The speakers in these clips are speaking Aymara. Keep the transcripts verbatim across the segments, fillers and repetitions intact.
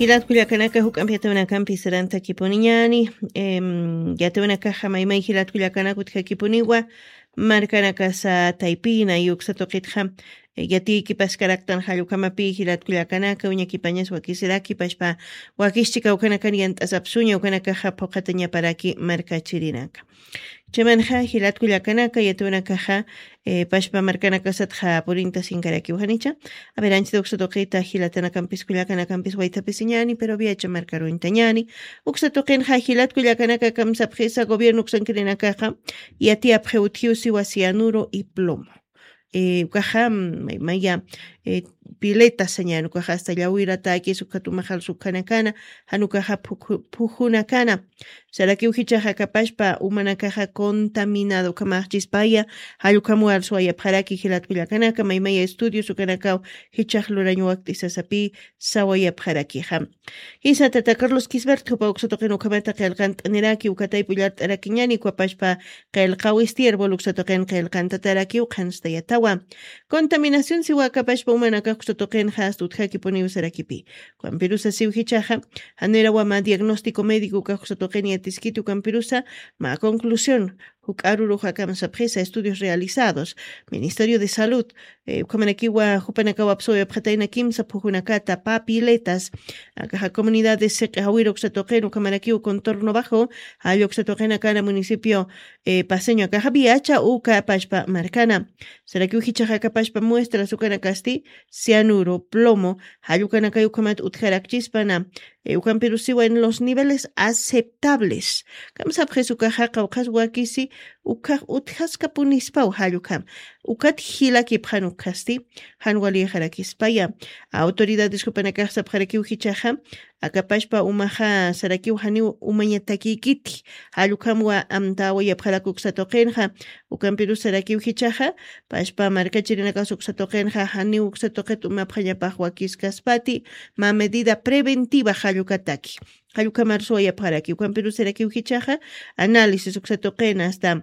Jilatkullakanaka juk'ampi yatawinakampi sarantakipuniñani. Yatawinakaxa maymay jilatkullakanaka utjakipuniwa. Markanakasa taypina yuksa tuqitxa yatiykipaskaraktan jallukamapi jilatkullakanaka uñakipañas wakisiraki pashpa wakischika ukanakan yant'asapsuña ukanakaxa phuqatañaparaki markachirinaka. Chamanxa jilatkullakanaka yatawinakaxa pashpa markanakasatxa purinta sinkarakiw janicha. Aver anchita uksa tuqita jilatanakampiskullakanakampis waytapisiñani pero viacha markaruñtañani. Uksa tuqinxa jilatkullakanaka kamsapxisa gobierno uksankirinakaxa yatiyapxi utjiw siwa cianuro y plomo. Ukaxa maya pileta sañan ukaxa asta llawiratakis ukat umaxal sukhanakana jan ukaxa phujunakana. Sarakiw jichaxa kapashpa umanakaxa contaminado ukhamaxchispaya. Jallukhamuwar suwayapxaraki jilatkullakanaka maymaya estudios ukanakaw jichax lurañ wakt'isasapi sawayapxarakixa. Jisa tata carlos quisbert jupa uksa tuqin ukhamata qillqant'aniraki ukataypullart'arakiñani ukhapashpa qillqaw istierbol uksa tuqin qillqantatarakiw qhanstayatawa. Contaminación siwa akapashpa umanakax uksa tuqinxa asta utjakipuniw sarakipi. Ukampirusa siw jichaxa janirawa mä diagnóstico médico ukax uksa tuqin yatiskiti ukampirusa mä conclusión juk'arurux akamsapxisa estudios realizados ministerio de salud. Ukhamanakiwa jupanakaw apsuwayapxatayna kimsa phujunakata papiletas akaxa comunidades siq'i jawir uksa tuqin ukhamanakiw contorno bajo jalla uksa tuqinakana municipio paseño akaxa viacha uka pashpa markana. Sarakiw jichaxa akapashpa muestras ukanakasti cianuro plomo jallukanakay ukhamat utjarakchispana. Ukampirusiwa en los niveles aceptables. Kamsapxis ukaxa qawqhas wakisi ukhax utjaskapunispaw jallukham ukat jilakipxan ukhasti jan walixarakispaya. Autoridades jupanakax sapxarakiw jichaxa akapashpa umaxa sarakiw janiw umañatakïkiti. Jallukhamwa amtawayapxarak uksa tuqinxa ukampirus sarakiw jichaxa pashpa markachirinakas uksa tuqinxa janiw uksa tuqit umapxañapax wakiskaspati mä medida preventiva jallukataki. Jallukhamar suwayapxaraki ukampirus sarakiw jichaxa análisis uksa tuqin asta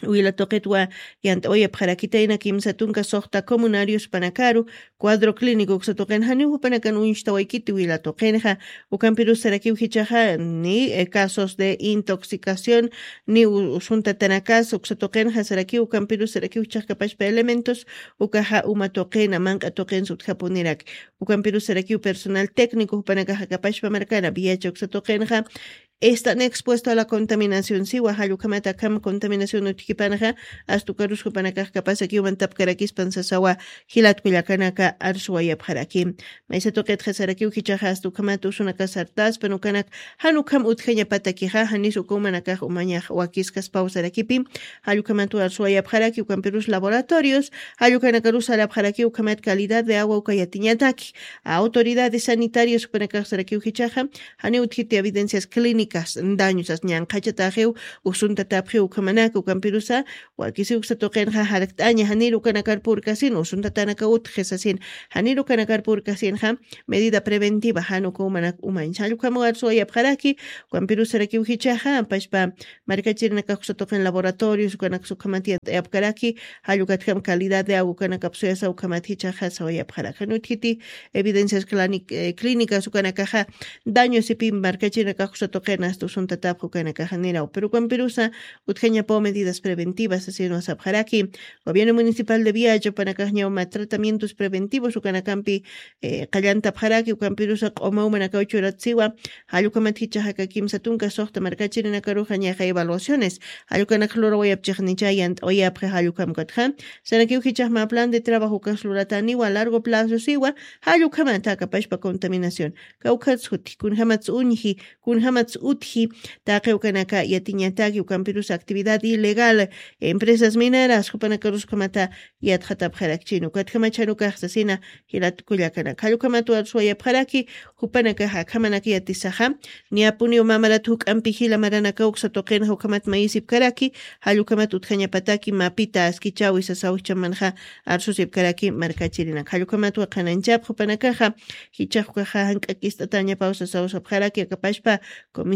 wila tuqitwa yant'awayapxarakitayna kimsa tunka suxta comunarios panakaru cuadro clínico uksa tuqin janiw jupanakan uñstawaykiti wila tuqinxa. Ukampirus sarakiw jichaxa ni casos de intoxicación ni usuntatanakas uksa tuqinxa sarakiw ukampirus sarakiw jichaxkapashpa elementos ukaxa uma tuqina manq'a tuqin sutjapunirak. Ukampirus sarakiw personal técnico jupanakaxakapashpa markana viacha uksa tuqinxa están expuesto a la contaminación siwa jallukhamata akham contaminación utjkipanaxa astukarus jupanakaxkapasaki umantapkarakispan sasawa. Jilatkullakanaka arsuwayapxaraki maysa tuqitxa sarakiw jichaxa asta ukhamat usunakas sartaspan ukanak jan ukham utjañapatakixa janis uka umanakax umañax wakiskaspaw sarakipi. Jallukhamat arsuwayapxaraki ukampirus laboratorios jallukanakarus sarapxaraki ukhamat calidad de agua uka yatiñataki. Autoridades sanitarias jupanakax sarakiw jichaxa janiw utjiti evidencias clínicas dañosas ñanqhachataxiw usuntatapxiw ukhamanaka ukampirusa wakisi uksa tuqinxa jarkt'aña janir ukanakar purkasin usuntatanaka utji sasin janir ukanakar purkasinxa medida preventiva jan uka umanak umañsa jallukhamawar suwayapxaraki. Ukampirus sarakiw jichaxa pashpa markachirinakax uksa tuqin laboratorios ukanaksa ukhamat yant'ayapkaraki jallukatjam calidad de agua ukanakap suyasa ukhamat jichaxa sawayapxarak jan utjiti evidencias clínicas ukanakaxa daño sipi markachirinakax uksa tuqin asta usuntatapxa ukanakaxa niraw pero ukampirusa utjañapaw medidas preventivas asinwa sapxaraki. Gobierno municipal de viacha upanakaxñaw mä tratamientos preventivos ukanakampi qallantapxaraki ukampirusa q'uma umanakaw churatsiwa. Jallukhamat jichaxaka kimsa tunka suxta markachirinakaruxa ñaxa evaluaciones jallukanak lurawayapchixnicha yant'awayapxi jallukhamkatxa sarakiw jichaxma plan de trabajo ukas lurataniwa largo plazo siwa. Jallukhamata akapashpa contaminación kawkhatsuti kunjamats uñji kunjamats utji. Taqi ukanaka yatiñataki ukampirus actividad ilegal empresas mineras jupanakarus ukhamata yatxatapxarakchini ukatjamachan ukaxsasina. Jilatkullakanaka jallukhamat arsuwayapxaraki jupanakaxa akhamanaka yatisaxa. Niyapuniw mamarat juk'ampi jila maranaka uksa tuqinxa ukhamat mayisipkaraki jallukhamat utjañapataki mapita askichawi sasaw jichamanxa arsusipkaraki markachirinaka jallukhamat waqhananchap jupanakaxa jichax ukaxa jank'akist'atañapaw sasaw sapxaraki akapashpa.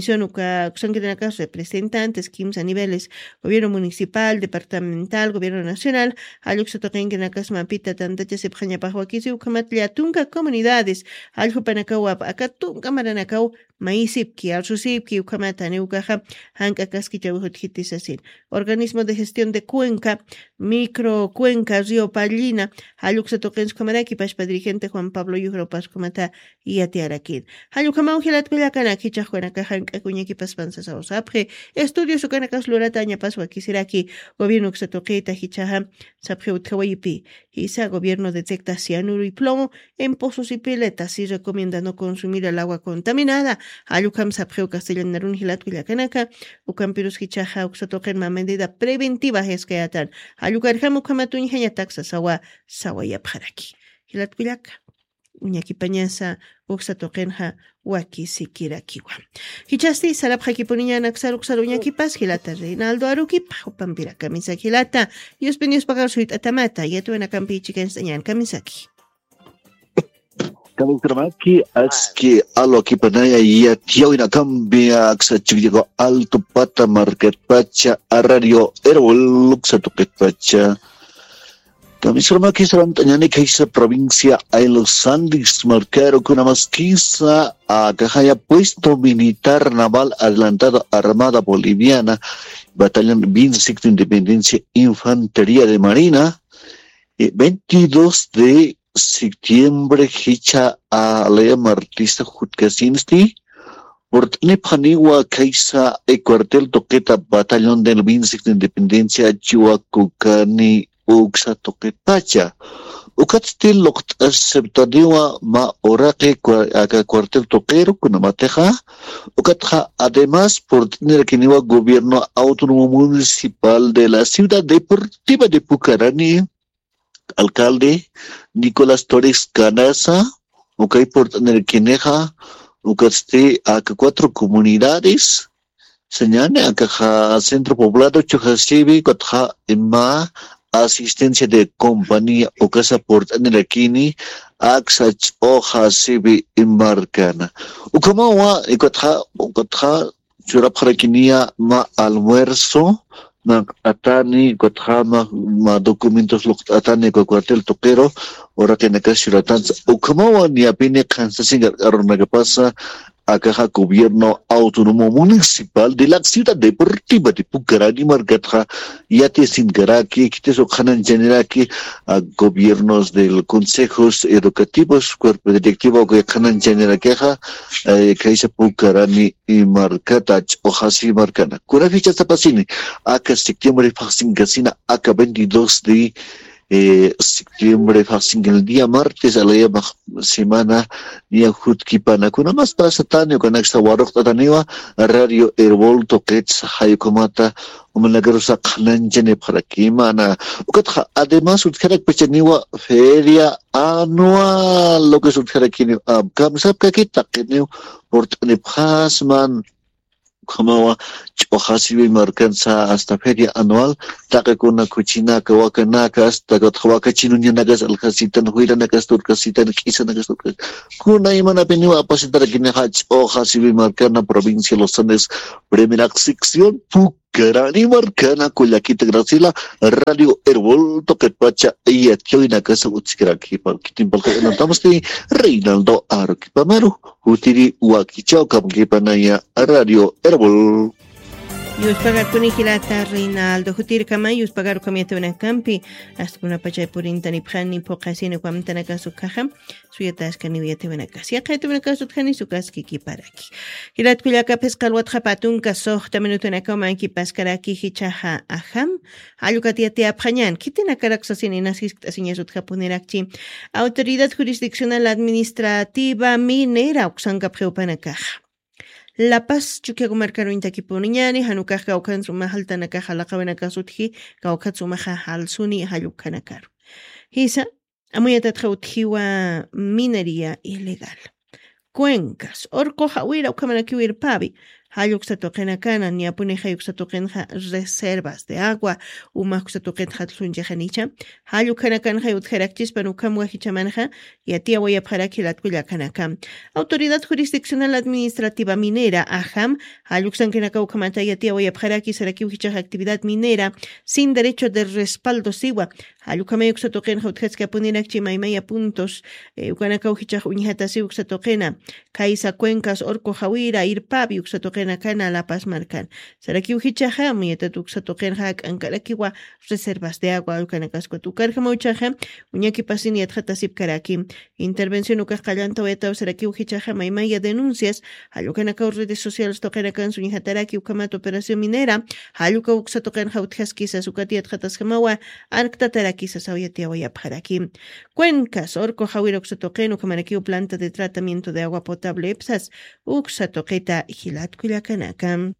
Uka uksankirinakax representantes kimsa niveles, gobierno municipal, departamental, gobierno nacional, jalluksa tuqinkirinakas mapita tantachasipxañapax wakisi ukhamat llatunka comunidades, jalljupanakaw wap aka tunka maranakaw mayisipki arsusipki ukhamat janiw ukaxa jank'akaskichaw jutjiti sasin. Organismo de gestión de cuenca, micro cuenca río pallina, jalluksa tuqinsa ukhamaraki pashpa dirigente Juan Pablo Yuxra paskumatha yatiyarakir. Jallukamaw jilatkullakanak jichaxwanakaxa jank'akuñakipaspan sasaw sapxi. Estudios ukanakas lurata añapas wakisiraki gobierno uksa tuqita jichaxa sapxi utjawayipi. Jisa gobierno detecta cianuro y plomo en pozos y piletas y recomienda no consumir el agua contaminada. Jallukam sapxiw castellanarun jilatkullakanaka. Ukampirus jichaxa uksa tuqinma medida preventiva jiskayatan. Jallukarjam ukhamatuñjañatak sasawa sawayapxaraki. Jilatkullaka uñakipañasa uksa tuqinxa wakisikirakiwa. Jichasti sarapxakipuniña naksar uksar uñakipas jilata Reinaldo Arukipa jupampira kamisaki jilata. Yuspin yuspagar suyt'atamata yatwanakampi chikañstañan kamisaki. Kamisramaki aski alwakipanaya yatiyawinakampi aksa chukllaku alto pata markatpacha arrario erwol uksa tuqitpacha. Kamisramaki sarant'añani kaysa provincia ay los Andes markaru kunamaskisa akajaya puesto militar naval adelantado armada boliviana batallón veinte y cinco de independencia infantería de marina, eh, veintidós de septiembre jicha a lea martista jutkasinsti purt'nipxaniwa kaysa e cuartel tuqita batallón del veinte y cinco de independencia chiwakukani uksa tuqitpacha. Ukatsti luqt'asiptaniwa ma uraqi cua- aka cuartel tuqiru kunamatixa ukatxa además purt'nirakiniwa gobierno autónomo municipal de la ciudad deportiva de Pucarani alcalde Nicolás Torres Canasa, ukay purt'nirkinixa ukatsti aka cuatro comunidades sañani akaxa centro poblado chujasiwi ukatxa ima asistencia de compañía ukasa purt'nirakini aksa ch'uxasiwi markana. Ukhamawa ukatxa ukatxa churapxarakiniya ma almuerzo, ma atani ukatxa ma ma documentos luqt'atani uka cuartel tuqiru uraqinakas churatansa. Ukhamawa niyapini qhansasin kark'arunakapasa akaxa gobierno autónomo municipal de la ciudad deportiva de Pucarani markatxa yatisinkaraki khitis uqhananchaniraki a gobiernos del consejos educativos cuerpo directivo uka qhananchanirakixa kaysa Pucarani markata ch'uxasi markana kuna fichasapasini aka septiembre phaxsinkasina aka veintidós de septiembre phaxsinka el día martes alayamax semana niya jutkipana kunamas pasatani ukanaksa waruqt'ataniwa radio erbol tuqitsa jayukamata umanakarusa qhananchanipxarakimana ukatxa además utjarakpachaniwa feria anual lo que sutjarakiniw kamisapkaki taqiniw purt'anipxasman. Ukhamawa ch'uxasiwi markansa hasta feria anual taqikuna kuchinaka wakanaka hasta kutxa wakachinuñanakas alkhasitan juyranakas turkasitan k'isanakas turkas kuna imanapiniwa apasitarakinixa ch'uxasiwi markana provincia los andes primera sección puk Karani markana kullakita Graciela, radio erbol tuqitpacha yatiyawinakasa utsikirakipa kitimpalqayanantamasti Reinaldo Aruquipamaru jutiri wakichaw kamkipanaya radio erbol. Yuspagarkuni jilata Reinaldo jutirkama yuspagarukam yatawinakampi astakuna pachay purintanipxani phuqasini wamtanakasu khaxam. Suyataskaniw yatawinakas yaqaytawinakas utjani sukaski kiparaki. Jilatkullaka phisqa alwatxa patunka suxta minutunakaw mankipaskaraki jichhaxa ajam. Jallukatiyatiyapxañan khitinakarak sasini nasiskt'asiñas utjapunirakchi. Autoridad jurisdiccional administrativa minera uksankapxiwpanakaxa lapas chukiakumarkaruñtakipuniñani janukax kawkhan suma jaltanakaxa laqawinakas utji kawkhat sumaxa jalsuni jallukhanakaru. Jisa amuyatatxa utjiwa minería ilegal. Cuencas urqu jawira ukhamanakiwirpawi. Jalluksa tuqinakana ñapunixay uksa tuqinxa reservas de agua umaxksa tuqinxa tlunchixanicha. Jallukanakanxa utjarakchispan ukham wajichamanxa yatiyawayapxaraki latkullakanaka. Autoridad jurisdiccional administrativa minera ajam jalluksankinaka ukhamata yatiyawayapxaraki sarakiw jichax actividad minera sin derecho de respaldo siwa. Jallukhamay uksa tuqinxa utjaskapuniraki chimaymaya puntos ukanakaw jichax uñjatasiw uksa tuqina. Kaysa cuencas orco jawira irpapi uksa tuqinakana lapas markan. Sarakiw jichaxa mayatat uksa tuqinxa jak'ankarakiwa reservas de agua ukanakaskuta ukarjamawchaxa uñakipasin yatxatasipkaraki. Intervención ukax qallantawayataw sarakiw jichaxa maymaya denuncias jallukanakaw redes sociales tuqinakan suñjataraki ukhamat operación minera jallukaw uksa tuqinxa utjaskisas ukat yatxataskamawa. Arktatarakisas awyatiyawayapxaraki. Cuencas orco jawira uksa tuqin ukhamarakiw planta de tratamiento de agua potable ipsas uksa tuqita jilatkullakanaka.